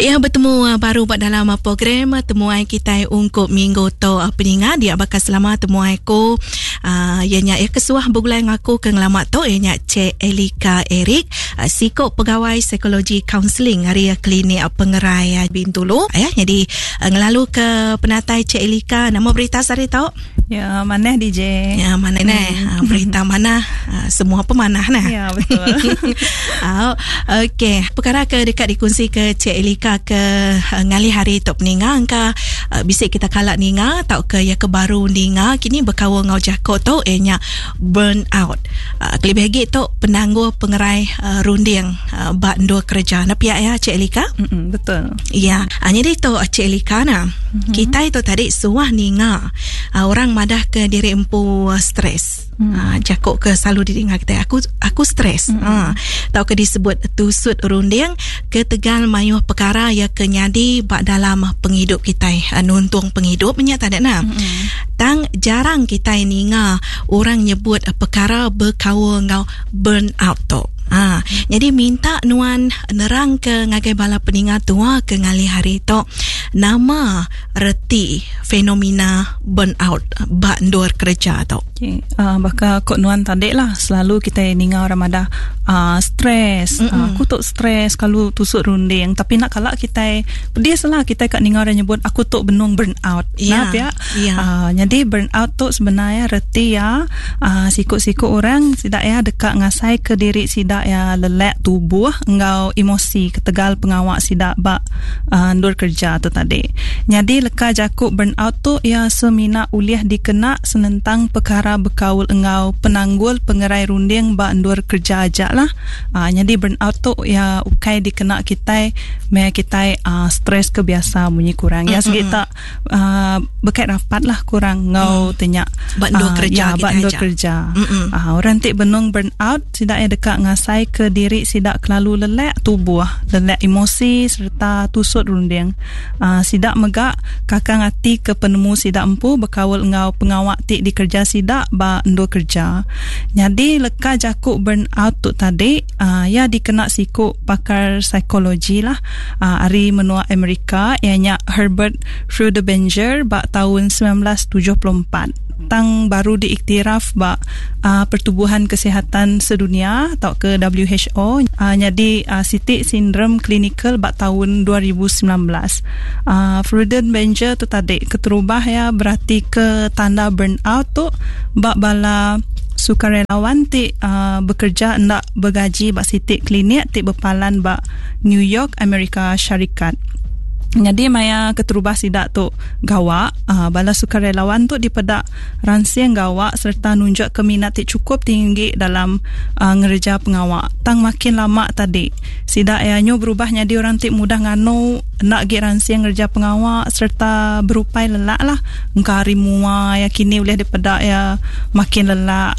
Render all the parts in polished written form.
Ya betemu ah, baru ba dalam ah, program ah, temuai kitai ungkup minggu tu peninga dia bakal selama temuai ku uh, ya nya ya kesuah begulai ngaku ke ngelama tu ya nya Cik Elika Eric uh, siko pegawai psikologi counselling ari klinik pengerai Bintulu ya jadi uh, ngelalu ke penatai Cik Elika nama berita sehari tu Ya, manah DJ. Ya, manah hmm. nah. Berita manah, semua pemanah nah. Ya, betul. Oh, okey. Perkara ke dekat dikongsi ke Cik Elika ke ngalih hari tu peninga angka bisi kita kala ninga tau ke ya ke baru ninga kini berkaul ngau jako tu ianya burn out. Kelebih lagi tu penanggul pengerai runding ba endur kerja. Nah pihak ya Cik Elika? Mm-mm, betul. Ya. Jadi tu Cik Elika nah. Mm-hmm. Kita itu tadi suah ninga orang madah ke diri empu stres. Jakok ke selalu didengar kita aku aku stres. Tau ke disebut tusut runding ke tegal mayuh perkara ya ke nyadi ba dalam penghidup kita nuntung penghidup nya tadi nah. Tang jarang kita ninga orang nyebut perkara berkaul ngau burn out tu. Ha, jadi minta nuan nerang ke ngagai bala peninga tua ke ngalih hari tu nama reti fenomena burn out ba endur kerja tu. Okay. Baka kok nuan tadi lah selalu kita ninga orang madah stres. Aku tu stres kalau tusuk runding tapi nak kala kita pedis lah kita kat ninga orang nyebut aku tu benung burn out. Yeah. Nah, pia. Yeah. Jadi burn out tu sebenarnya reti ya siku-siku orang sidak ya dekat ngasai ke diri sidak ya lelak tubuh engau emosi ketegal pengawak sidak ba ndur kerja tu tadi. Jadi leka jakuk burn out tu ya semina ulih dikena senentang perkara berkaul engau penanggul pengerai runding ba ndur kerja aja lah. Jadi burn out tu ya ukai dikena kita me kita stres ke biasa bunyi kurang. Ya segi tak berkait rapat lah kurang ngau tanya ba ndur kerja ya, ba ndur kerja. Orang ti benung burn out sidak ya dekat ngasai ke diri sidak kelalu lelak tubuh, lelak emosi serta tusut runding. Sidak megak kakang hati ke penemu sidak empu berkaul ngau pengawak ti dikerja sidak ba ndur kerja. Jadi leka jakuk burn out tu tadi ya dikena siku pakar psikologi lah ari menua Amerika ianya Herbert Freudenberger ba tahun 1974. Tang baru diiktiraf ba Pertubuhan Kesihatan Sedunia atau ke WHO jadi sitik sindrom klinikal ba tahun 2019. Freudenberger tu tadi keterubah ya berarti ke tanda burnout tu ba bala sukarelawan ti bekerja ndak bergaji ba sitik klinik ti berpalan ba New York, Amerika Syarikat. Jadi maya keterubah sidak tu gawak, bala sukarelawan tu dipedak ransing gawak serta nunjuk ke minat ti cukup tinggi dalam ngereja pengawak. Tang makin lama tadi, sidak ya nyu berubah jadi orang ti mudah nganu nak gi ransing ngereja pengawak serta berupai lelak lah. Engka hari mua ya kini boleh dipedak ya makin lelak,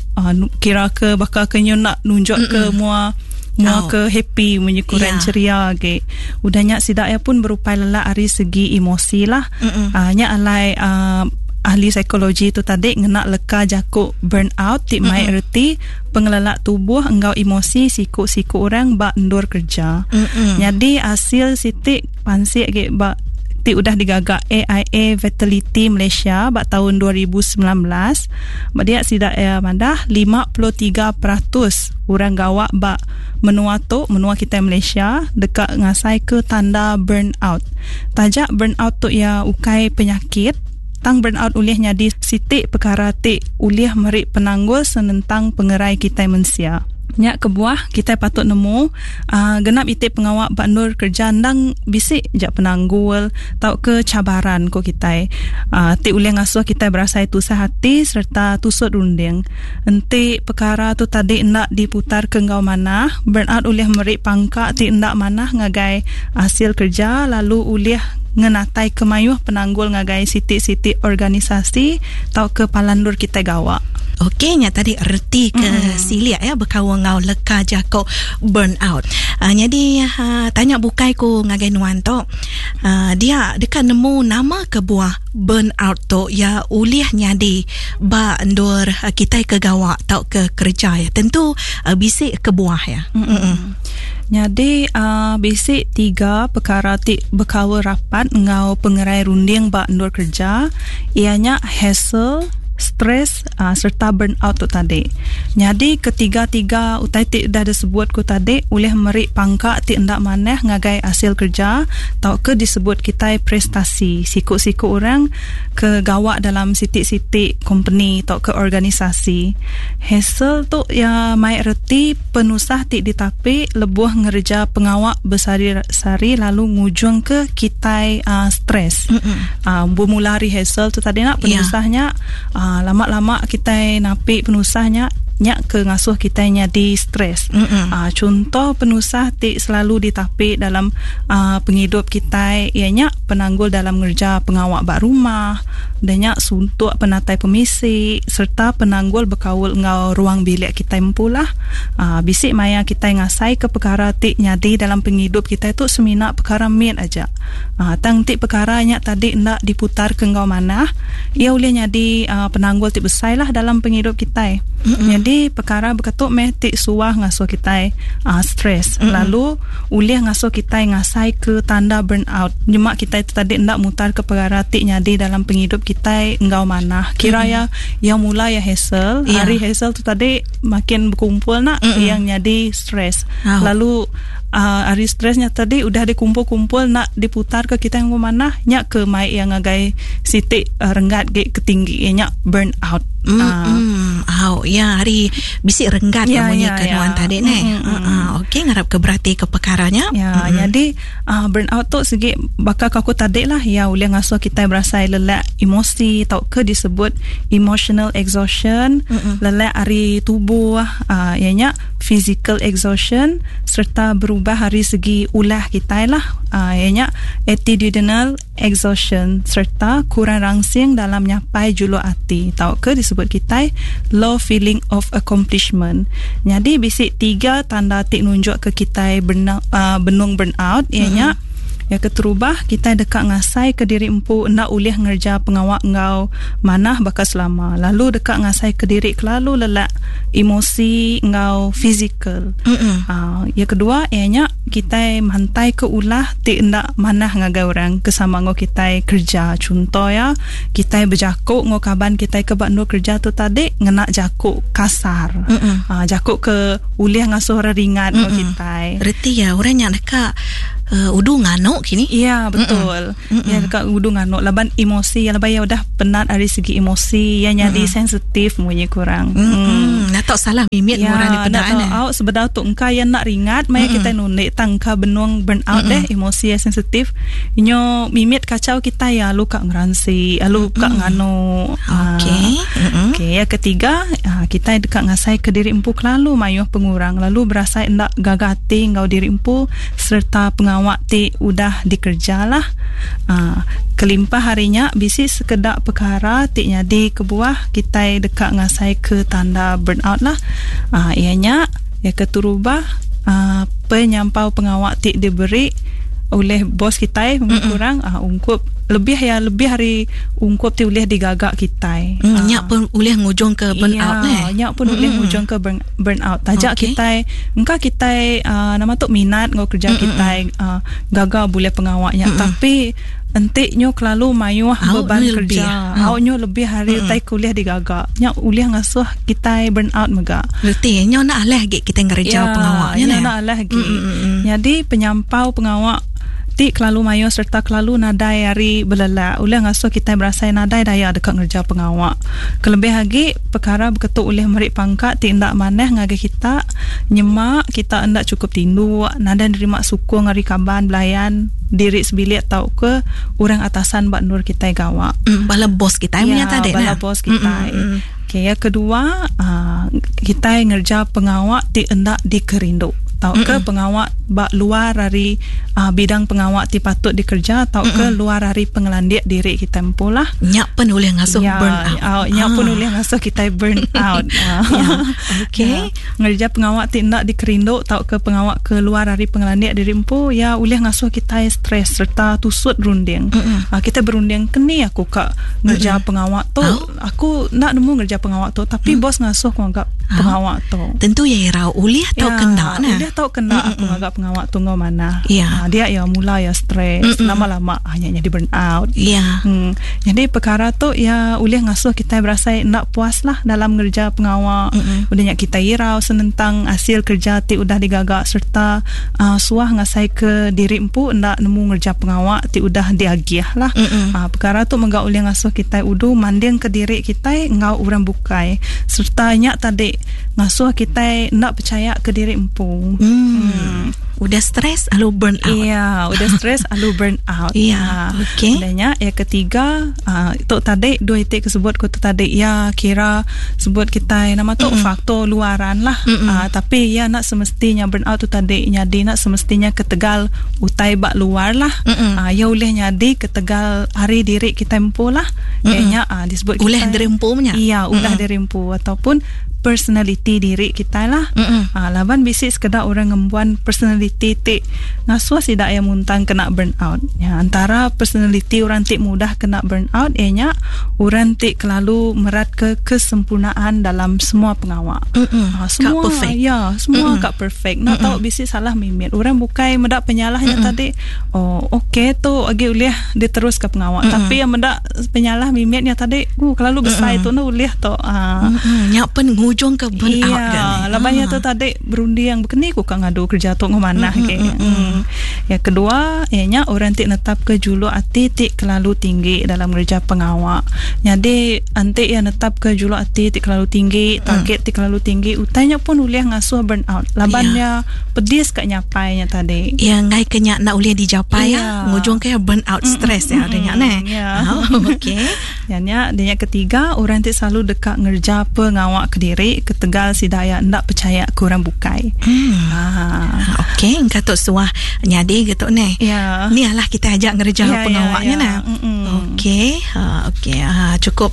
kira ke bakal ke nyu nak nunjuk ke mua mua ke happy menyukuran ceria ke. Udahnya sidak ya pun berupai lelak ari segi emosi lah. Nya alai ahli psikologi tu tadi ngena leka jakuk burn out ti mai erti pengelelak tubuh enggau emosi siku-siku orang ba endur kerja. Jadi hasil sitik pansik ge ba ti udah digagak AIA Vitality Malaysia ba tahun 2019. Ba dia sidak ya madah 53% orang gawak ba menua tu, menua kita Malaysia dekat ngasai ke tanda burn out. Tajak burn out tu ya ukai penyakit, tang burn out ulih nyadi sitik perkara ti ulih merik penanggul senentang pengerai kita mensia. Nyak kebuah kita patut nemu genap itik pengawak bak nur kerja ndang bisik jak penanggul tau ke cabaran ko kita. Ti ulih ngasuh kita berasai tusah hati serta tusut runding. Enti perkara tu tadi ndak diputar ke ngau manah, burn out ulih merik pangkak ti ndak manah ngagai hasil kerja lalu ulih ngenatai kemayuh penanggul ngagai sitik-sitik organisasi tau ke palandur kita gawak. Okey, nya tadi reti ke siliak ya berkaul ngau leka jako burn out. Jadi tanya bukai ku ngagai nuan tu. Dia dekat nemu nama kebuah burn out tu ya ulih nyadi ba endur kita ke gawak tau ke kerja ya. Tentu bisik kebuah ya. Nyadi uh, bisi tiga pekara ti bekaul rapat enggau pengerai runding ba endur kereja iya nya hassle, stress uh, sereta burnout tu tadi. Nyadi ketiga-tiga utai ti udah disebut ku tadi ulih meri pangka ti enda manah ngagai asil kereja tauka disebut kitai prestasi siku-siku orang ke gawa dalam siti-siti kompeni tauka organisasi. Hassle tu iya mai reti penusah ti ditapi lebuh ngereja pengawa besehari-sehari lalu ngujungka kitai uh, stres. Uh, bermula ari hassle tu tadi nak penusah nya uh, lama-lama kitai napi penusah nya nya ke ngasuh kitai nyadi stres. Uh, chunto penusah ti selalu ditapi dalam uh, pengidup kitai iya nya penanggul dalam ngereja pengawa ba rumah, udah nya suntuk penatai pemisi sereta penanggul bekaul enggau ruang bilik kitai empu lah. Uh, bisi maya kitai ngasaika pekara ti nyadi dalam pengidup kitai tu semina pekara mit aja. Uh, tang enti pekara nya tadi enda diputarka enggau manah, iya ulih nyadi uh, penanggul ti besai lah dalam pengidup kitai. Mm-hmm. Nyadi pekara beketu meh ti suah ngasuh kitai uh, stres mm-hmm. lalu ulih ngasuh kitai ngasai ke tanda burnout. Nyema kitai tu tadi enda mutarka pekara ti nyadi dalam pengidup kitai enggau manah. Kira mm-hmm. ya yang mula ya hassle, yeah. hari hassle tu tadi makin bekumpul nak mm-hmm. yang nyadi stres. Oh. Lalu uh, ari stres nya tadi udah dikumpul-kumpul nak diputar ke kita yang manah nya ke mai yang ngagai siti uh, renggat ge ke tinggi nya burn out. Mm, uh, mm. Oh, ya hari bisi renggat ya, munyi ya, ke ya. nuan tadi ne. Mm, mm, uh, okey ngarap ke berati ke perkaranya. Ya, mm. jadi uh, burn out tu segi baka aku tadi lah ya ulih ngasuh kita berasai lelak emosi tau ke disebut emotional exhaustion, mm-mm. lelak ari tubuh uh, ya nya physical exhaustion sereta berubah ari segi ulah kitai lah uh, iya nya attitudinal exhaustion sereta kurang rangsing dalam nyapai juluk ati tauka disebut kitai low feeling of accomplishment. Nyadi bisi tiga tanda ti nunjukka kitai burn, uh, benung burn out iya nya mm-hmm. Yang keterubah, kitai deka ngasaika diri empu enda ulih ngereja pengawa enggau manah baka selama, lalu deka ngasaika diri kelalu lelak emosi enggau fizikal. Uh, yang kedua, iya nya kitai mantaika ulah ti enda manah ngagai orang ke sama enggau kitai kerja. Chunto iya, kitai bejaku enggau kaban kitai ke ba endur kerja tu tadi ngena jaku kasar. Uh, jaku ke ulih ngasuh orang ringat enggau kitai. Reti iya, orang nya deka uh, udu nganu kini. Ya, betul. Ya deka udu nganu laban emosi laban ya udah penat ari segi emosi ya nyadi sensitif munyi kurang. Mm. Nak salah mimit ya, orang dipeda ne. Au sebedau tu engka ya nak ringat maya kita nunik tang engka benung burn out deh emosi ya sensitif. Inyo mimit kacau kita ya lu ka ngeransi, lu ka nganu. Okey. Okey, ya ketiga kita deka ngasai ke diri empu kelalu mayuh pengurang lalu berasai enda gaga ati enggau diri empu sereta pengawa ti udah dikereja lah. Uh, kelimpah ari nya bisi sekeda pekara ti nyadi kebuah kitai deka ngasai ke tanda burnout lah. Uh, iya nya ya keterubah uh, penyampau pengawa ti diberi oleh bos kitai mm kurang uh, ungkup lebih ya lebih hari ungkup ti ulih digaga kitai. Mm, uh, nya pun ulih ngujung ke burnout ya, eh. Nya pun ulih ngujung ke burn, burn out. Taja okay. kitai engka kitai uh, nama tu minat ngau kerja kitai uh, gaga boleh pengawa nya tapi enti nyu kelalu mayuh beban kerja au nyu lebih hari utai kuliah digaga nya ulih ngasuh kitai burn out mega. Reti nyu nak alah agi kitai ngereja ya, pengawa nya ne. Nak alah agi. Jadi penyampau pengawa ti kelalu mayuh sereta kelalu nadai hari belelak ulih ngasuh kitai berasai nadai daya deka ngereja pengawa. Kelebih agi perkara beketu ulih meri pangka ti enda manah ngagai kita nyema kita enda chukup tinduk, nadai nerima sukung ari kaban belayan, diri sebilik tauka orang atasan ba endur kitai gawa. Mm, bala bos kitai ya, tadi bala bos kitai. Okey, yang kedua, uh, kitai ngereja pengawa ti enda dikerindu tauka pengawa ba luar ari uh, bidang pengawa ti patut dikerja tauka luar ari pengelandik diri kita empu lah. Nya pun ulih ngasuh ya, burn out. Uh, nya pun ulih ngasuh kitai burn out. ya. Okey. Ya. Ngereja pengawa ti enda dikerindu tauka pengawa ke luar ari pengelandik diri empu ya ulih ngasuh kitai stres sereta tusut berunding. Uh, kita berunding keni aku ka ngereja pengawa tu. Oh. Aku enda nemu ngereja pengawa tu tapi bos ngasuh aku anggap. Pengawa tu. Tentu iya irau ulih tau ya, kena nah. Ulih tau kena aku ngaga pengawa tu enggau manah. Ya. Dia ya mula ya stres, lama-lama hanya jadi burn out. Ya. Jadi perkara tu ya ulih ngasuh kita berasa nak puas lah dalam ngerja pengawa. Udah nya kita irau senentang hasil kerja ti udah digaga serta suah ngasai ke diri empu ndak nemu ngerja pengawa ti udah diagih lah. Perkara tu mega ulih ngasuh kita udu manding ke diri kita ngau orang bukai serta nya tadi ngasuh kita nak percaya ke diri empu. Udah stres lalu burn out. Iya, udah stres lalu burn out. Iya, okey. Udahnya yang ketiga, itu tadi dua itik kesebut ku tu tadi ya kira sebut kita nama tu faktor luaran lah. Tapi ya nak semestinya burn out tu tadi nyadi nak semestinya ketegal utai bak luar lah. Ya ulih nyadi ketegal hari diri kita empu lah. Kayaknya disebut kita Ulih diri empu nya. Iya, ulah diri empu ataupun personality diri kita lah. Laban bisi sekedar orang ngembuan personality ti ngasuh sidak yang muntang kena burn out. Ya, antara personality orang ti mudah kena burn out ianya orang ti kelalu merat ke kesempurnaan dalam semua pengawa. Semua Kak perfect. Ya, semua kak perfect. Nak tahu bisi salah mimit. Orang bukai medak penyalahnya tadi. Oh, okey tu agi ulih diterus ke pengawa. Tapi yang medak penyalah mimitnya tadi, kelalu besar tu nak ulih tu. Nya pen ngujung ke burn out Iya, kan. labannya tu tadi berunding bekeni ku kang ngadu kerja tu ngomanah ke. Yang kedua, ianya orang ti netap ke julu ati ti kelalu tinggi dalam kerja pengawak. Jadi anti yang netap ke julu ati ti kelalu tinggi, target ti kelalu tinggi, utainya pun ulih ngasuh burn out. Labannya pedis kat nyapainya tadi. Ya ngai kenya nak ulih dijapai ya. Iya. Ngujung ke burn out stres ya adanya ne. Ya. Okey. Yang dia yang ketiga, orang ti selalu dekat ngerja pengawak ke diri ketegal sidaya ndak percaya ke orang bukai. Okey, engkau suah nyadi gitu ne. Ya. Ni lah kita ajak ngerja Ya, pengawaknya ya, ya. nah. Okey, okey. Cukup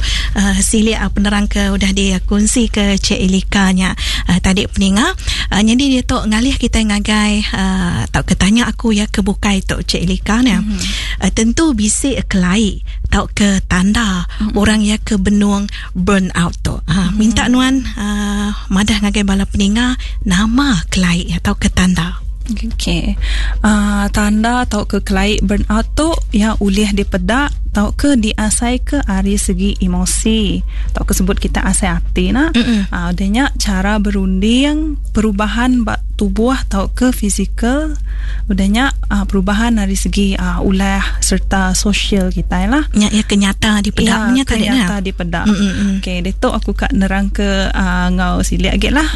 silik penerang ke udah dikongsi ke Cik Elika nya tadi peninga. Jadi dia tu ngalih kita ngagai tau ke tanya aku ya ke bukai tu Cik Elika nya. Tentu bisik kelai tau ke tanda orang ya ke benung burn out tu. Minta nuan madah ngagai bala peninga nama kelai atau ke tanda. Okey. Tanda atau ke kelai burn out tu ya ulih dipedak atau ke diasai ke ari segi emosi atau ke sebut kita asai hati nah. Adanya cara berunding, perubahan bak tubuh atau ke fizikal, udahnya perubahan dari segi ulah serta sosial kita lah. Ya, ya kenyata dipedak ya, tadi kenyata dipedak. Okey, detok aku kat nerang ke ngau silik agak lah.